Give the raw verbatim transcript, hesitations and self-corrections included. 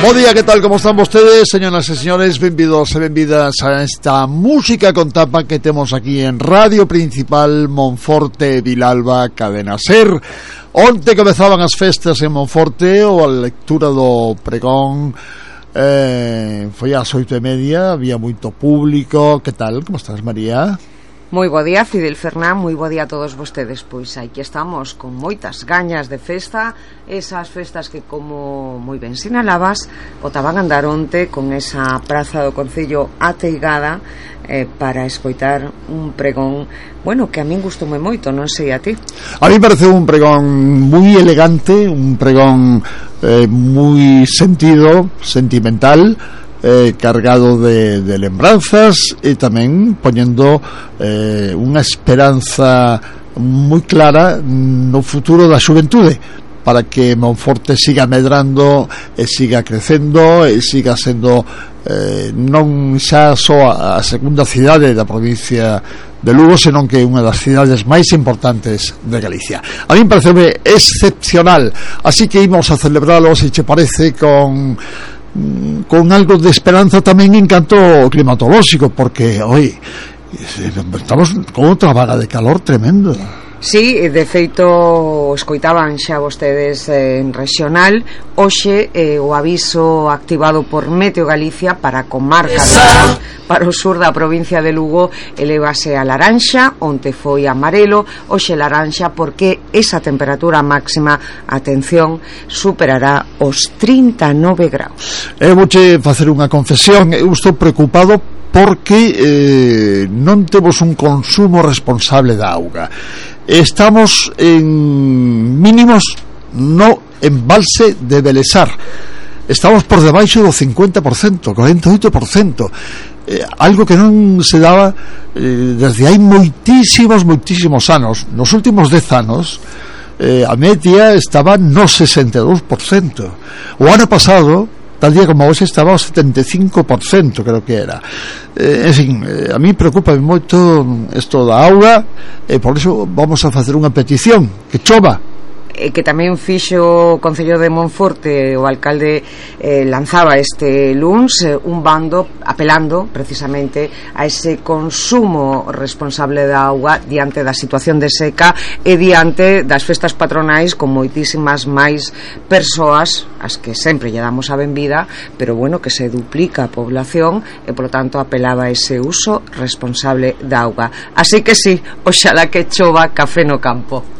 Bo día, que tal, como están vostedes, señoras e señores? Benvidos e benvidas a esta música con tapa que temos aquí en Radio Principal Monforte Vilalba Cadena Ser. Onte comezaban as festas en Monforte, ou a lectura do pregón eh, foi ás oito e media, había moito público. Que tal, como estás, María? Moi bo día, Fidel Fernán, moi bo día a todos vostedes. Pois aquí estamos con moitas gañas de festa, esas festas que, como moi ben sinalabas, botaban a andar onte con esa praza do Concello ateigada eh, para escoitar un pregón, bueno, que a min gustoume moito, non sei a ti. A mí parece un pregón moi elegante, un pregón eh, moi sentido, sentimental, Eh, cargado de, de lembranzas e tamén poñendo eh, unha esperanza moi clara no futuro da xuventude, para que Monforte siga medrando e siga crecendo e siga sendo eh, non xa só a segunda cidade da provincia de Lugo, senón que é unha das cidades máis importantes de Galicia. A mí me parece excepcional, así que ímos a celebralo, se che parece, con con algo de esperanza tamén en canto climatolóxico, porque hoy estamos con outra vaga de calor tremendo. Sí, de feito escoitaban xa vostedes eh, en regional hoxe eh, o aviso activado por Meteo Galicia para a comarca de, para o sur da provincia de Lugo elevase a laranxa, onte foi amarelo, hoxe laranxa, porque esa temperatura máxima, atención, superará os trinta e nove graus. Eu vouche facer unha confesión, eu estou preocupado porque eh, non temos un consumo responsable da auga. Estamos en mínimos no embalse de Belesar, estamos por debaixo do cincuenta por cento, cuarenta e oito por cento, eh, algo que non se daba eh, desde hai moitísimos, moitísimos anos. Nos últimos dez anos eh, a media estaba no sesenta e dous por cento. O ano pasado, tal día como hoxe, estaba ao setenta e cinco por cento, creo que era. Eh, en fin, eh, a mí preocupa moito isto da auga, e por iso vamos a facer unha petición, que chova. E que tamén fixo o Concello de Monforte, o alcalde eh, lanzaba este luns eh, un bando apelando precisamente a ese consumo responsable da auga diante da situación de seca e diante das festas patronais, con moitísimas máis persoas as que sempre lle damos a benvida, pero bueno, que se duplica a población e polo tanto apelaba a ese uso responsable da auga. Así que sí, oxalá que chova café no campo.